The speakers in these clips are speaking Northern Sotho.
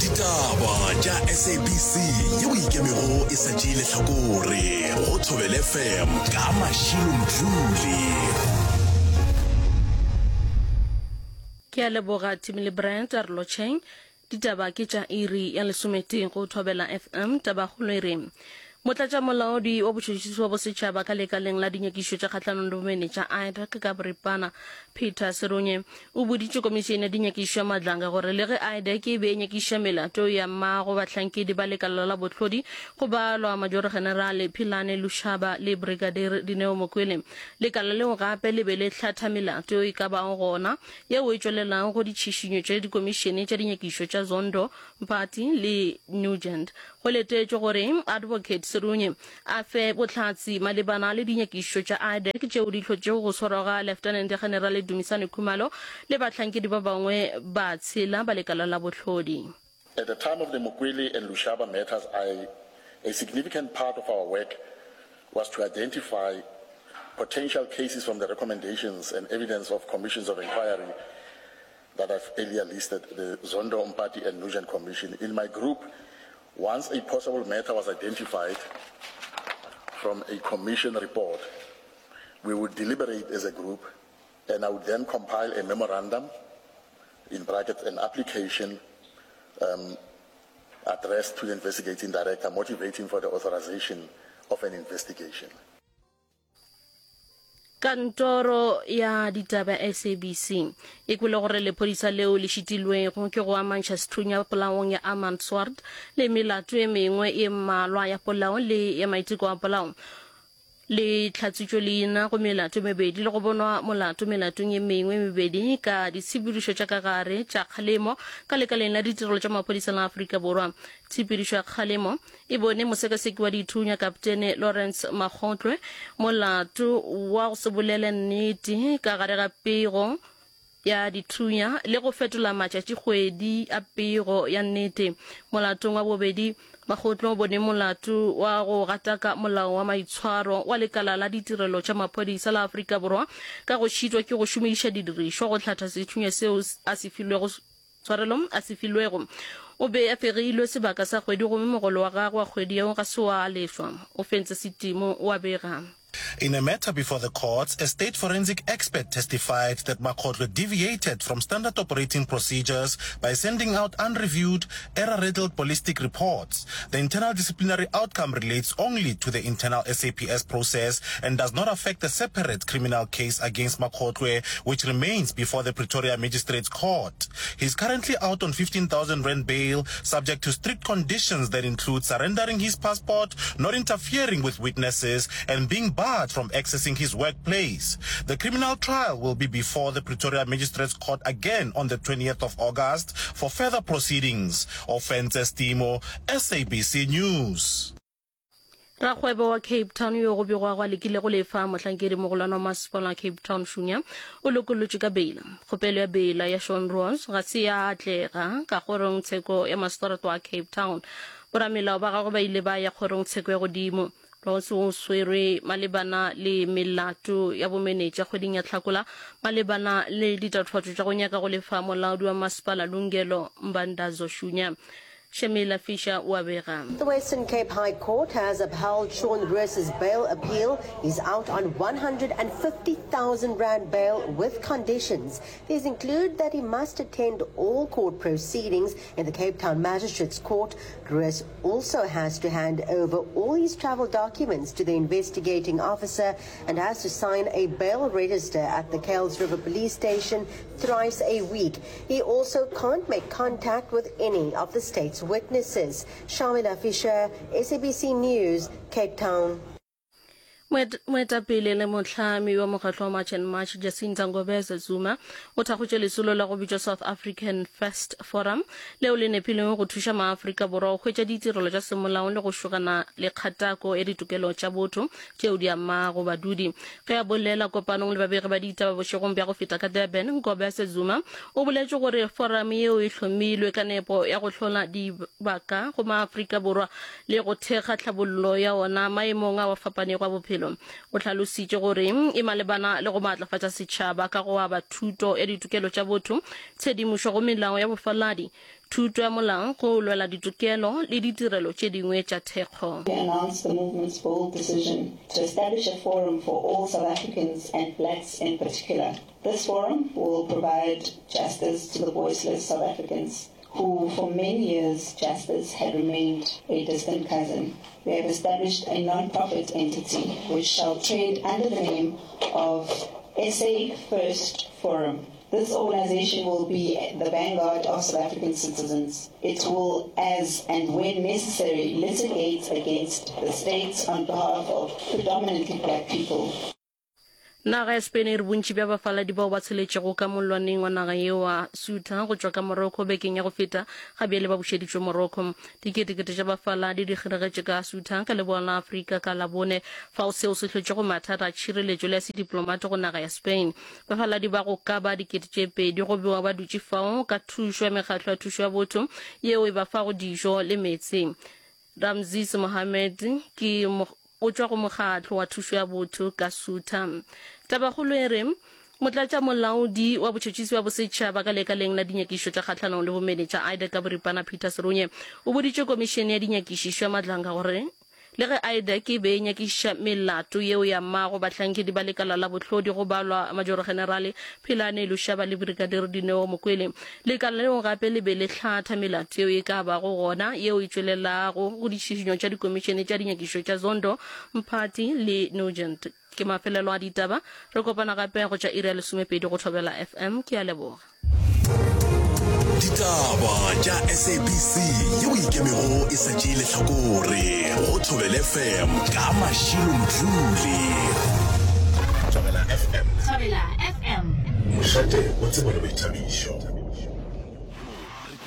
Ditaba tša SABC yeo e ikemego e sa tšee lehlakore go Thobela FM ka Mashilo Mdluli. Ke a leboga Timmy le Brent a re lotšheng. Ditaba ke tša iri ya lesometee go Thobela FM. Tabakgolo e re Motlatšamolaodi wa botšhotšhisi wa bosetšhaba ka lekaleng la dinyakišišo tša kgahlanong le bomenetša IDAC ka boripana Peter Serunye o boditše komišene ya dinyakišišo ya Madlanga gore le ge IDAC e be e nyakišiša melato ya mmago bahlankedi ba lekala la bohlodi go balwa Majoro-Generale Philane Lushaba le Brigadier Dineo Mokwele lekala leo gape le be le hlatha melato e ka bago gona yeo e tšwelelago go ditšhišinyo tša dikomišene tša dinyakišišo tša Zondo Mpati le Nugent. Go letetšwe gore Advocate Serunye a fe bohlatse malebana le dinyakišišo tša IDAC tšeo di hlotšego go swarwa ga Leftenente-Generale Dumisani Khumalo le bahlankedi ba bangwe ba tshela ba lekala la bohlodi. At the time of the Mokwele and Lushaba matters, I, a significant part of our work was to identify potential cases from the recommendations and evidence of commissions of inquiry that I've earlier listed, the Zondo Mpati and Nugent Commission. In my group, once a possible matter was identified from a commission report, we would deliberate as a group and I would then compile a memorandum, in brackets, an application um, addressed to the investigating director motivating for the authorization of an investigation. Kantoro ya ditaba SABC e kwele gore lephodisa leo le šitilwego ke go amantšha sethunya polaong ya Armand Swart le melato e mengwe e mmalwa ya polao le ya maiteko a polao le hlatswitšwe leina go melato e mebedi le go bonwa molato melatong e mengwe e mebedi ka ditshepedišo tša ka gare tša kgalemo ka lekaleng la ditirelo tša maphodisa la Afrika Borwa. Tshepedišo ya kgalemo E bone mosekaseki wa dithunya Kaptene Lawrence Makgotlwe molato wa go se bolele nnete ka gare ga pego ya dithunya le go fetola matšatšikgwedi a pego ya nnete. Molatong wa bobedi, Makgotlwe o bone molato wa go gataka molao wa maitshwaro wa lekala la ditirelo tša maphodisa la Afrika Borwa ka go šitwa ke go šomiša didirišwa go hlatha sethunya seo a se filwego Tshwarelo a se filwego. O be a fegilwe sebaka sa kgwedi gomme mogolo wa gagwe wa kgwedi yeo ga se wa lefwa. O fentse setimo, o a bega. In a matter before the courts, a state forensic expert testified that Makgotlwe deviated from standard operating procedures by sending out unreviewed, error-riddled ballistic reports. The internal disciplinary outcome relates only to the internal SAPS process and does not affect the separate criminal case against Makgotlwe, which remains before the Pretoria Magistrates Court. He is currently out on 15,000 rand bail, subject to strict conditions that include surrendering his passport, not interfering with witnesses, and being barred from accessing his workplace. The criminal trial will be before the Pretoria Magistrates Court again on the 20th of August for further proceedings. Ofentse Stimo, SABC News. Rakgwebo wa Cape Town yo go begwago a lekile go lefa mohlankedi mogolwane wa masepala wa Cape Town Shunya o lokollotšwe ka beila. Kgopelo ya beila ya Sean Ross ga se ya atlega ka kgorongtsheko ya maseterata wa Cape Town. Boramelao ba gagwe ba ile ba ya kgorongtsheko ya godimo. Ross o swerwe malebana le melato ya bomenetša kgweding ya Hlakola malebana le ditatofatšo tša go nyaka go lefa molaodi wa masepala Lungelo Mbandazo Shunya. Shemila Fisher o a bega. The Western Cape High Court has upheld Sean Roos's bail appeal. He's out on 150,000 rand bail with conditions. These include that he must attend all court proceedings in the Cape Town Magistrates Court. Roos also has to hand over all his travel documents to the investigating officer and has to sign a bail register at the Kuils River Police Station thrice a week. He also can't make contact with any of the state's witnesses. Shamila Fisher, SABC News, Cape Town. Moetapele le mohlami wa mokgatlo wa March and March Jacinta Ngobese Zuma o thakgotše lesolo la go bitšwa South African First Forum leo le nepilego go thuša maAfrika Borwa go hwetša ditirelo tša semolao le go šogana le kgatako ya ditokelo tša botho tšeo di amago badudi. Ge a bolela kopanong le babegi ba ditaba bošegong bja go feta ka Durban, Ngobese Zuma o boletše gore forum yeo e hlomilwe ka nepo ya go hlola dibaka go maAfrika Borwa le go thekga tlhabollo ya ona maemong ao a fapanego a bophelo. maphelo. O hlalositše gore e malebana le go maatlafatša setšhaba ka go aba thuto ya ditokelo tša botho, tshedimošo go melao ya bofaladi, thuto ya molao, go lwela ditokelo le ditirelo tše dingwe tša thekgo. We announce the movement's bold decision to establish a forum for all South Africans and blacks in particular. This forum will provide justice to the voiceless South Africans who for many years justice had remained a distant cousin. We have established a non-profit entity which shall trade under the name of SA First Forum. This organization will be the vanguard of South African citizens. It will, as and when necessary, litigate against the state on behalf of predominantly black people. Naga ya Spain e re bontši bja bafaladi bao ba tsheletšego ka mollwaneng wa naga yeo wa Ceuta go tšwa ka Morocco bekeng ya go feta ga bjale ba bušeditšwe Morocco. Diketekete tša bafaladi di kgeregetše ka Ceuta ka leboa la Afrika ka Labone, fao seo se hlotšego mathata a tšhireletšo le a sediplomate go naga ya Spain. Bafaladi ba go ka ba 2000 go bewa ba dutše fao ka thušo ya mekgatlo ya thušo ya botho yeo e ba fago dijo le meetse. Ramses Mohammed ke o tšwa go mokgatlo wa thušo ya botho ka Ceuta. Tabakgolo e re, Motlatšamolaodi wa botšhotšhisi bja bosetšhaba ka lekaleng la dinyakišišo tša kgahlanong le bomenetša IDAC ka boripana Peter Serunye o boditše komišene ya dinyakišišo ya Madlanga gore Le ge IDAC e be e nyakišiša melato yeo e amago bahlankedi ba lekala la bohlodi go balwa Majorogenerale Phelane Lushaba le Brigadier Dineo Mokwele, lekala leo gape le be le hlatha melato yeo e ka bago gona yeo e tšwelelago go ditšhišinyo tša dikomišene tša dinyakišišo tša Zondo, Mphathi le Nugent. Ke mafelelo a ditaba. Re kopana gape go tša iri ya lesomepedi go Thobela FM. Ke a leboga. Ditaba tša SABC yeo e ikemego e sa tšee lehlakore go Thobela FM ka Mashilo Mdluli. Thobela FM. Thobela FM. Mošate wa tsebo le boithabišo.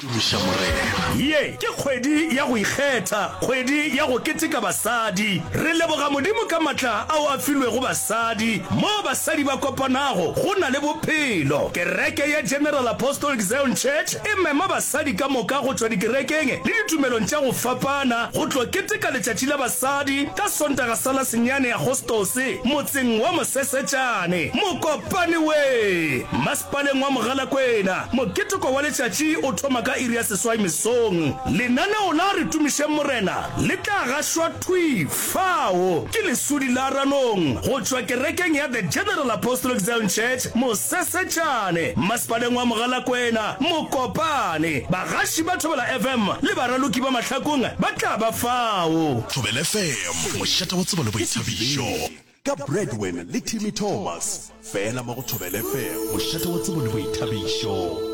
Tumiša Morena. Ye ke kgwedi ya go ikgetha, kgwedi ya go keteka basadi. Re leboga Modimo ka matla ao a filwego basadi. Moo basadi ba kopanago, go na le bophelo. Kereke ya General Apostolic Zion Church e mema basadi ka moka go tšwa dikerekeng le ditumelong tša go fapana go tlo keteka Letšatši la Basadi ka Sontaga sa la senyane Agostose motseng wa Mosesetšane, Mokopane we! Masepaleng wa Mogalakwena. Moketeko wa letšatši o thoma ka iri ya seswai mesong. Lenaneo la Re Tumišeng Morena le tla gašwa thwi fao ke Lesodi la Ranong go tšwa kerekeng ya The General Apostolic Zion Church, Mosesetšane, Masepaleng wa Mogalakwena, Mokopane. Bagaši ba Thobela FM le baraloki ba Mahlakong ba tla ba fao. Thobela FM, mošate wa tsebo le boithabišo. Ka Bradwin le Timmy Thomas, fela mo go Thobela FM, mošate wa tsebo le boithabišo.